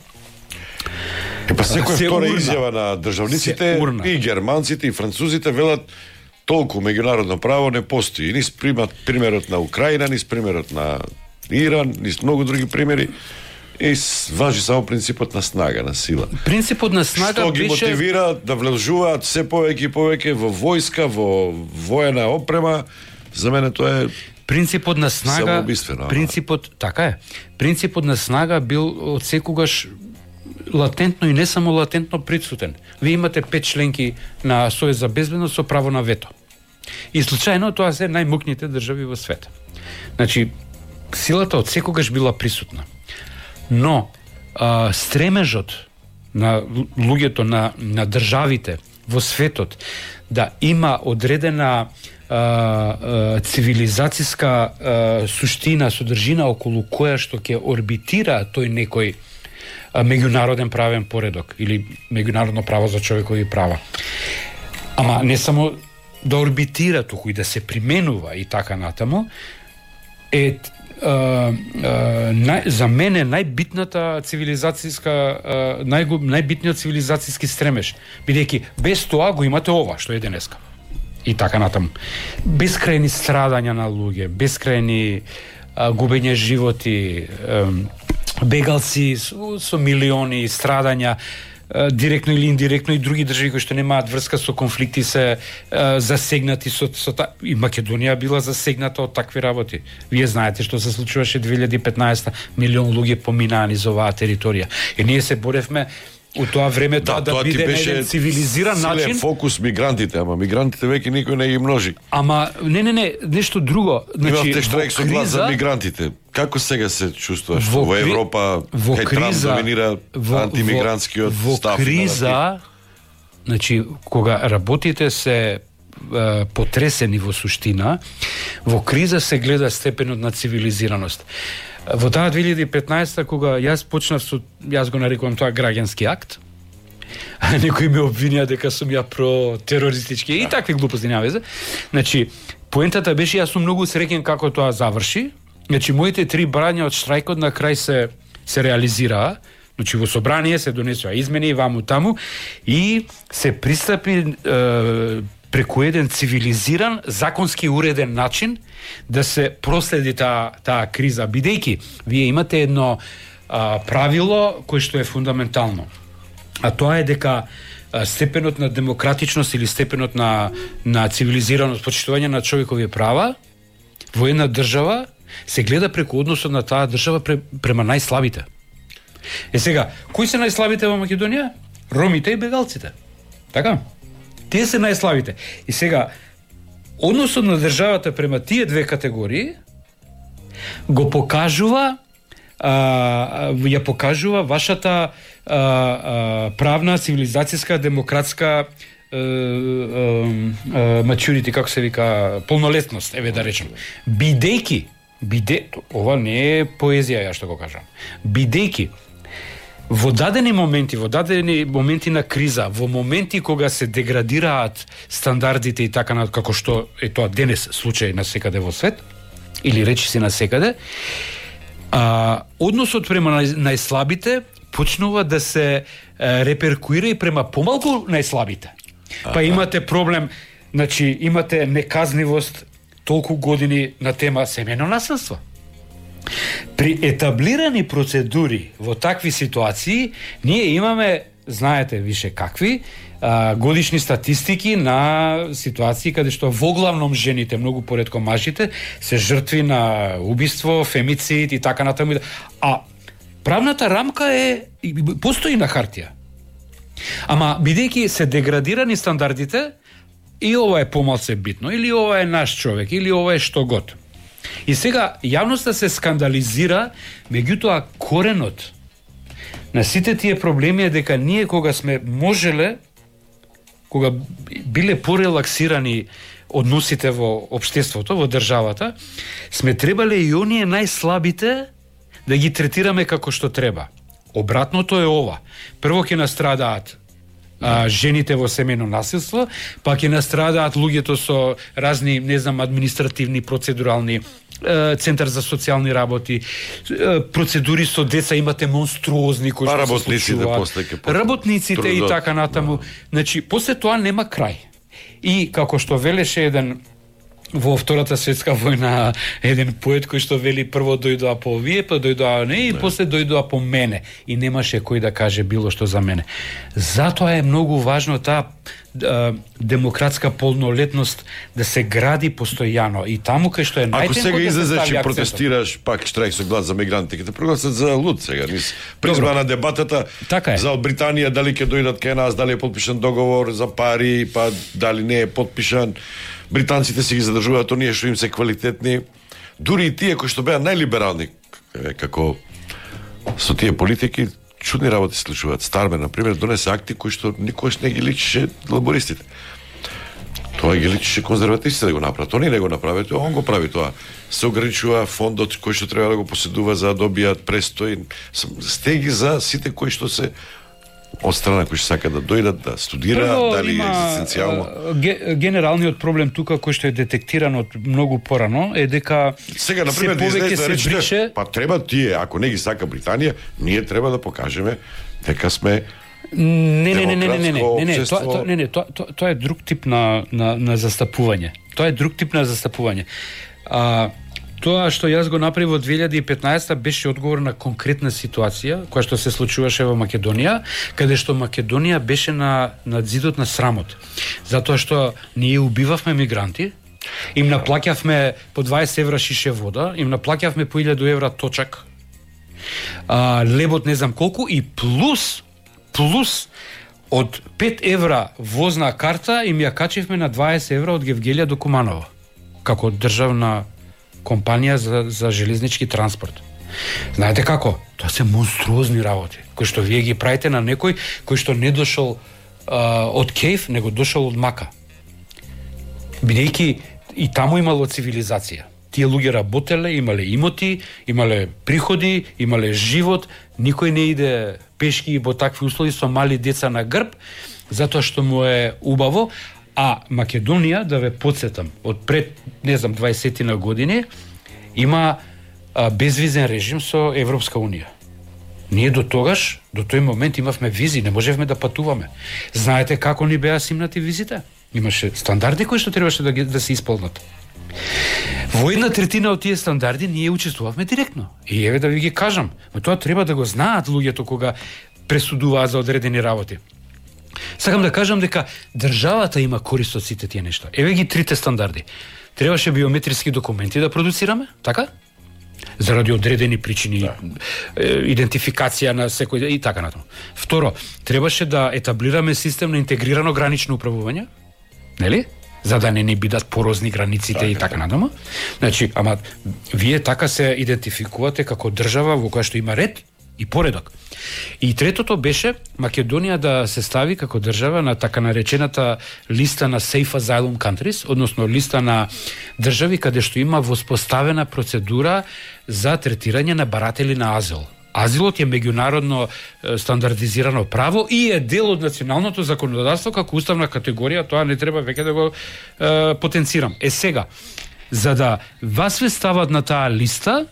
Па секоја втора изјава на државниците и германците и французите велат толку меѓународно право не постои. Низ примерот на Украина, низ примерот на Иран, низ многу други примери. И важи само принципот на снага, на сила. Принципот на снага што ги мотивира да влежуваат се повеќе и повеќе во војска, во воена опрема. За мене тоа е принципот на снага. Принципот, така е. Принципот на снага бил од секогаш латентно и не само латентно присутен. Вие имате 5 членки на Совет за безбедност со право на вето. И случајно тоа се најмокните држави во света. Значи, силата од секогаш била присутна. Но стремежот на луѓето, на државите во светот да има одредена цивилизацијска суштина, содржина околу која што ќе орбитира тој некој меѓународен правен поредок или меѓународно право за човекови права. Ама не само да орбитира, туку и да се применува и така натаму, за мене најбитната цивилизацијска најбитниот цивилизацијски стремеж, бидејќи без тоа го имате ова што е денеска. И така натаму. Бескрајни страдања на луѓе, бескрајни губење животи, бегалци со милиони страдања, директно или индиректно, и други држави кои што немаат врска со конфликти се засегнати и Македонија била засегната од такви работи. Вие знаете што се случуваше 2015, милион луѓе поминаа низ оваа територија. И ние се боревме у тоа време да биде еден цивилизиран начин. Силен фокус мигрантите, ама мигрантите веќе никој не ги множи. Ама не, нешто друго. Значи, имавте штрајк со глас за мигрантите. Како сега се чувствуваш во Европа, кај Трамп доминира антимигрантскиот став? Во криза, значи, кога работите се потресени во суштина, во криза се гледа степенот на цивилизираност. Во таа 2015 кога јас го нарекувам тоа граѓански акт, некои ме обвинија дека сум ја про-терористички и такви глупости, нема везе. Значи, поентата беше, јас сум многу среќен како тоа заврши. Значи, моите 3 барања од штрајкот на крај се реализираа. Значи, во собрание се донесоа измени и ваму таму и се пристапи преку еден цивилизиран, законски уреден начин да се проследи таа криза, бидејќи вие имате едно правило кое што е фундаментално. А тоа е дека степенот на демократичност или степенот на цивилизираност, почитување на човекови права во една држава се гледа преку односот на таа држава према најслабите. Сега, кои се најслабите во Македонија? Ромите и бегалците. Така? Тие се најслабите. И сега, односот на државата према тие две категории го покажува ја покажува вашата правна, цивилизацијска, демократска maturity, како се вика, полнолетност, еве да речем. Ова не е поезија, ја што го кажам. Бидејќи во дадени моменти на криза, во моменти кога се деградираат стандардите и така на како што е тоа денес случај на секаде во свет, или речи се на секаде, односот према најслабите почнува да се реперкуира и према помалку најслабите. Па имате проблем, значи имате неказнивост толку години на тема семејно насилство. При етаблирани процедури во такви ситуации, ние имаме, знаете више какви, годишни статистики на ситуации каде што воглавном жените, многу поретко мажите, се жртви на убиство, фемицид и така натаму. А правната рамка постои на хартија. Ама бидејќи се деградирани стандардите, и ова е помалце битно, или ова е наш човек, или ова е што год. И сега јавноста се скандализира, меѓутоа коренот на сите тие проблеми е дека ние кога сме можеле, кога биле порелаксирани односите во општеството, во државата, сме требале и оние најслабите да ги третираме како што треба. Обратното е ова. Прво ќе настрадаат жените во семејно насилство, па ќе настрадаат луѓето со разни, административни, процедурални, центар за социјални работи, процедури со деца, имате монструозни кои што се случуваат. Работниците и така натаму. Значи, после тоа нема крај. И како што велеше еден во Втората светска војна еден поет кој што вели прво дојдоа по овие, па дојдоа не и после дојдоа по мене и немаше кој да каже било што за мене. Затоа е многу важно таа демократска полнолетност да се гради постојано и таму кај што е најтемко. Ако сега излезеш и протестираш пак штрајк со глас за мигранти, ќе те прогласат за луд сега, низ призма на дебатата за од Британија дали ќе дојдат кај нас, дали е потпишан договор за пари, па дали не е потпишан. Британците се ги задржуваат оние што им се квалитетни, дури и тие кои што беа најлиберални како со тие политики, чудни работи се случуваат. Стармер, например, донесе акти кои што никош не ги личише лабористите. Тоа ги личише конзервативците да го направат. Они не го направат, он го прави тоа. Се ограничува фондот кој што треба да го поседува за да добијат престој. Стеги за сите кои што се од страна кои што сакаат да дојдат да студираат, дали екзистенцијално. Генералниот проблем тука кој што е детектиран од многу порано е дека сега на пример повеќе се брише. Па треба тие, ако не ги сака Британија, ние треба да покажеме дека сме Не, тоа е друг тип на застапување. Тоа е друг тип на застапување. Тоа што јас го направив во 2015 беше одговор на конкретна ситуација која што се случуваше во Македонија, каде што Македонија беше на зидот на срамот. Затоа што ние убивавме мигранти, им наплаќавме по 20 евра шише вода, им наплаќавме по 1000 евра точак, лебот не знам колку и плюс од 5 евра возна карта им ја качивме на 20 евра од Гевгелија до Куманово, како државна компанија за железнички транспорт. Знаете како? Тоа се монструозни работи, кои што вие ги правите на некој кој што не дошол од Кејф, него дошол од Мака. Бидејќи и таму имало цивилизација. Тие луѓе работеле, имале имоти, имале приходи, имале живот, никој не иде пешки во такви услови со мали деца на грб, затоа што му е убаво. А Македонија, да ве потсетам, од пред, 20 на години, има безвизен режим со Европска Унија. Ние до тој момент имавме визи, не можевме да патуваме. Знаете како ни беа симнати визите? Имаше стандарди кои што требаше да се исполнат. Во 1/3 од тие стандарди ние учествувавме директно. И еве да ви ги кажам, но тоа треба да го знаат луѓето кога пресудуваат за одредени работи. Сакам да кажам дека државата има корист од сите тие нешта. Еве ги трите стандарди. Требаше биометриски документи да продуцираме, така? Заради одредени причини, идентификација на секој и така натаму. Второ, требаше да етаблираме систем на интегрирано гранично управување, нели? За да не ни бидат порозни границите и така натаму. Значи, ама вие така се идентификувате како држава во која што има ред и поредок. И третото беше Македонија да се стави како држава на така наречената листа на Safe Asylum Countries, односно листа на држави каде што има воспоставена процедура за третирање на баратели на азил. Азилот е меѓународно стандардизирано право и е дел од националното законодавство како уставна категорија, тоа не треба веќе да го потенцирам. Сега, за да вас ве стават на таа листа,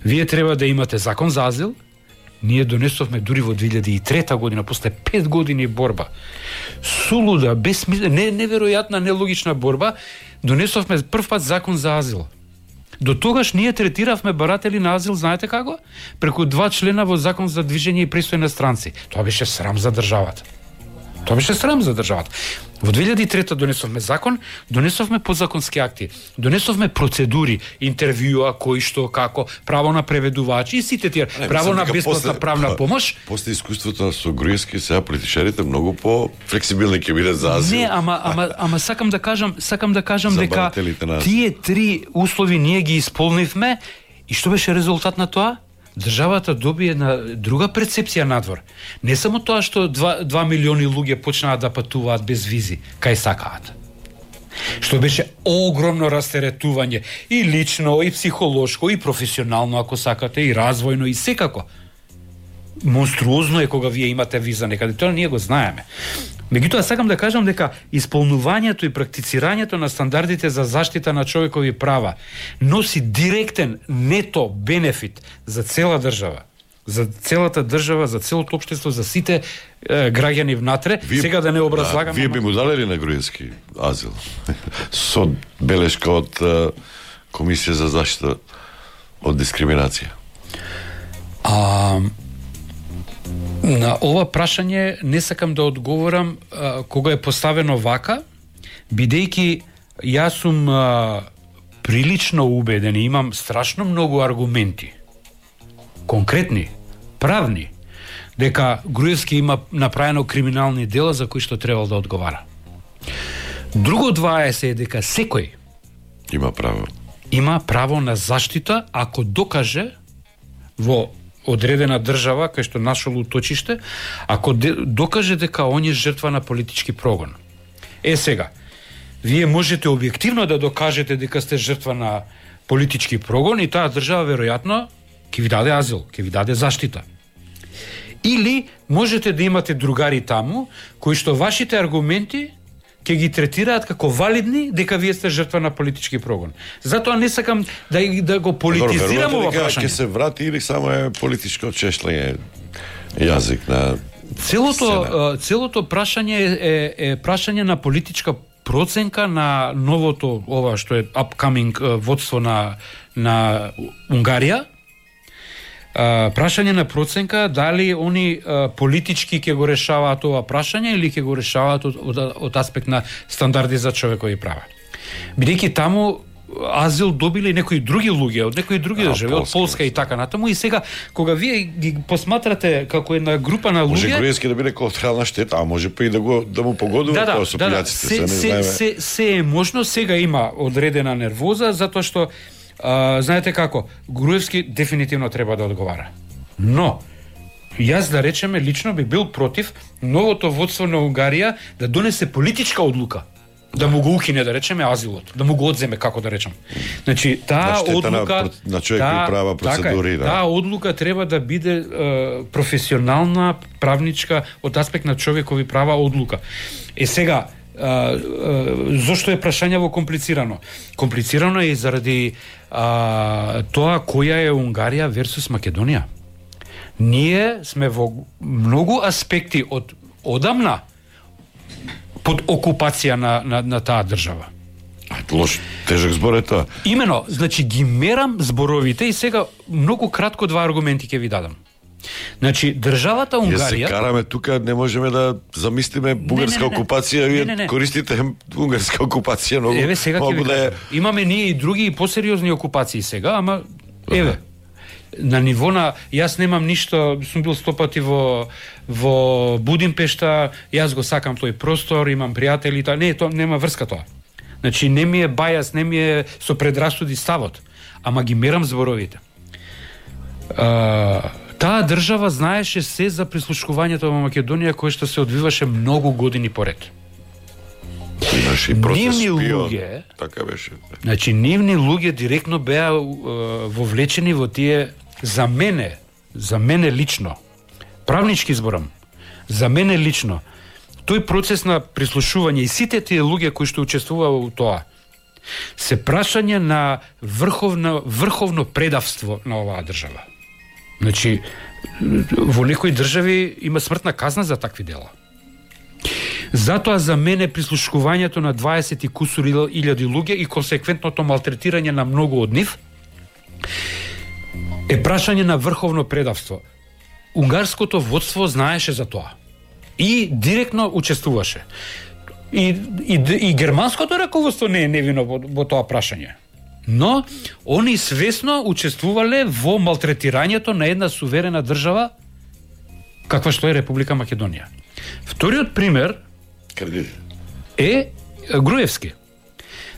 вие треба да имате закон за азил. Ние донесовме дури во 2003 година, после 5 години борба. Сулуда, неверојатна, нелогична борба, донесовме прв пат закон за азил. До тогаш ние третиравме баратели на азил, знаете како? Преку 2 члена во закон за движење и престој на странци. Тоа беше срам за државата. Во 2003 донесовме закон, донесовме подзаконски акти, донесовме процедури, интервјуа, кој што, како, право на преведувачи и сите тие, право на бесплатна правна помош. После искуството со Груевски, сега политичарите многу по флексибилни ќе бидат за азил. Не, ама сакам да кажам дека тие три услови ние ги исполнивме и што беше резултат на тоа? Државата добие на друга перцепција надвор. Не само тоа што 2 милиони луѓе почнаа да патуваат без визи, кај сакаат. Што беше огромно растеретување и лично, и психолошко, и професионално, ако сакате, и развојно, и секако. Монструозно е кога вие имате виза некаде, тоа ние го знаеме. Меѓутоа, сакам да кажам дека исполнувањето и практицирањето на стандардите за заштита на човекови права носи директен нето бенефит за цела држава, за целата држава, за целото општество, за сите граѓани внатре. Сега да не образлагам. Вие би му далели на Груевски азил со белешка од Комисија за заштита од дискриминација? На ова прашање не сакам да одговорам кога е поставено вака, бидејќи јас сум прилично убеден и имам страшно многу аргументи, конкретни, правни, дека Груевски има направено криминални дела за кои што требал да одговара. Друго 20 е дека секој има право на заштита ако докаже во одредена држава кај што нашол уточиште, ако докаже дека он е жртва на политички прогон. Сега, вие можете објективно да докажете дека сте жртва на политички прогон и таа држава веројатно ќе ви даде азил, ќе ви даде заштита. Или можете да имате другари таму кои што вашите аргументи ќе ги третираат како валидни дека вие сте жртва на политички прогон. Затоа не сакам да го политизирам ова прашање. Ќе се врати или само е политичко чешлење јазик на целото прашање е прашање на политичка проценка на новото ова што е upcoming водство на Унгарија. Прашање на проценка дали они политички ќе го решаваат ова прашање или ќе го решаваат од аспект на стандарди за човекови права. Бидејќи таму азил добили некои други луѓе од некои други држави, од Полска и така натаму, и сега кога вие ги посматрате како една група на луѓе, може Груевски да биде колатерална штета, а може па и да му погодува тоа со пољаците. Се е можно, сега има одредена нервоза затоа што знаете како, Груевски дефинитивно треба да одговара. Но јас да речеме лично би бил против новото водство на Унгарија да донесе политичка одлука да му го укине, да речеме, азилот, да му го одземе, како да речем. Значи, таа одлука на човекови права процедури, таа одлука треба да биде професионална, правничка од аспект на човекови права одлука. Сега, зошто е прашањево комплицирано? Комплицирано е заради тоа која е Унгарија версус Македонија. Ние сме во многу аспекти од одамна под окупација на таа држава. Лош, тежок збор е тоа. Имено, значи ги мерам зборовите и сега многу кратко два аргументи ќе ви дадам. Значи, државата Унгарија... Ја се караме тука, не можеме да замислиме бугарска окупација, вие користите унгарска окупација многу. Еве, сега ќе ви кажам. Имаме ние и други и посериозни окупации сега, ама еве, на ниво на... Јас немам ништо, сум бил 100 пати во Будимпешта, јас го сакам тој простор, имам пријатели, не, тоа нема врска тоа. Значи, не ми е бајас, не ми е со предрасуди ставот, ама ги мерам зборовите. Таа држава знаеше се за прислушкувањето во Македонија кое што се одвиваше многу години поред. Имаше и процес шпион, така беше. Значи, нивни луѓе директно беа вовлечени во тие, за мене лично, правнички зборам, за мене лично, тој процес на прислушување и сите тие луѓе кои што учествуваа во тоа, се прашање на врховно предавство на оваа држава. Значи, во некои држави има смртна казна за такви дела. Затоа за мене прислушкувањето на 20 и кусур илјади луѓе и консеквентното малтретирање на многу од нив е прашање на врховно предавство. Унгарското водство знаеше за тоа и директно учествуваше. И германското раководство не е невино во тоа прашање. Но они свесно учествувале во малтретирањето на една суверена држава каква што е Република Македонија. Вториот пример е Груевски.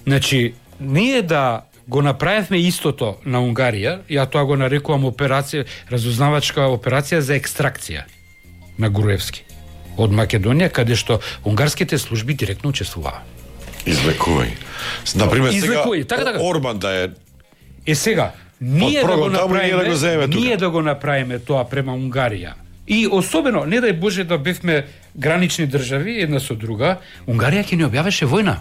Значи, ние да го направивме истото на Унгарија, ја тоа го нарекувам операција, разузнавачка операција за екстракција на Груевски од Македонија, каде што унгарските служби директно учествуваа. Извлекувај. Например, сега така. Орбан да е... сега, ние да го направиме тоа према Унгарија. И особено, не дај Боже да бевме гранични држави, една со друга, Унгарија ќе ни објавеше војна.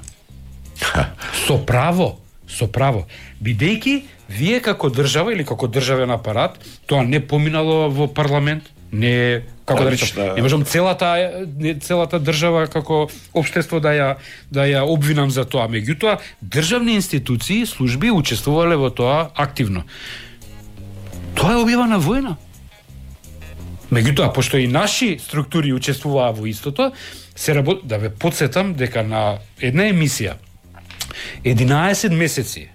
Со право. Бидејќи, вие како држава или како државен апарат, тоа не поминало во парламент, не, како да речам, не можам целата држава како општество да ја обвинам за тоа. Меѓутоа, државни институции, служби учествувале во тоа активно. Тоа е објавена војна. Меѓутоа, пошто и наши структури учествуваа во истото, да ве потсетам дека на една емисија 11 месеци,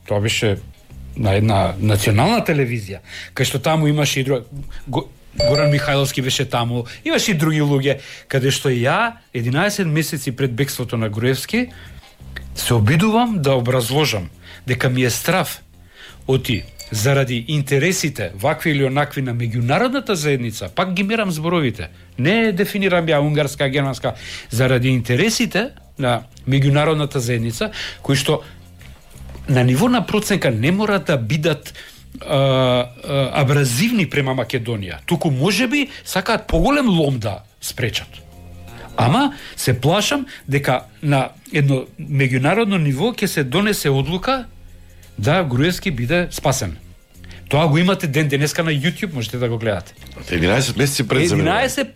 тоа беше на една национална телевизија, кај што таму имаше и друг Горан Михајловски беше таму, имаше и други луѓе, каде што ја 11 месеци пред бегството на Груевски се обидувам да образложам дека ми е страв оти заради интересите вакви или онакви на меѓународната заедница, пак ги мерам зборовите, не дефинирам ја унгарска, германска, заради интересите на меѓународната заедница, кои што на ниво на проценка не мора да бидат абразивни према Македонија, туку можеби сакаат поголем лом да спречат. Ама се плашам дека на едно меѓународно ниво ќе се донесе одлука да Груевски биде спасен. Тоа го имате ден денеска на YouTube, можете да го гледате. 11 месеци пред 11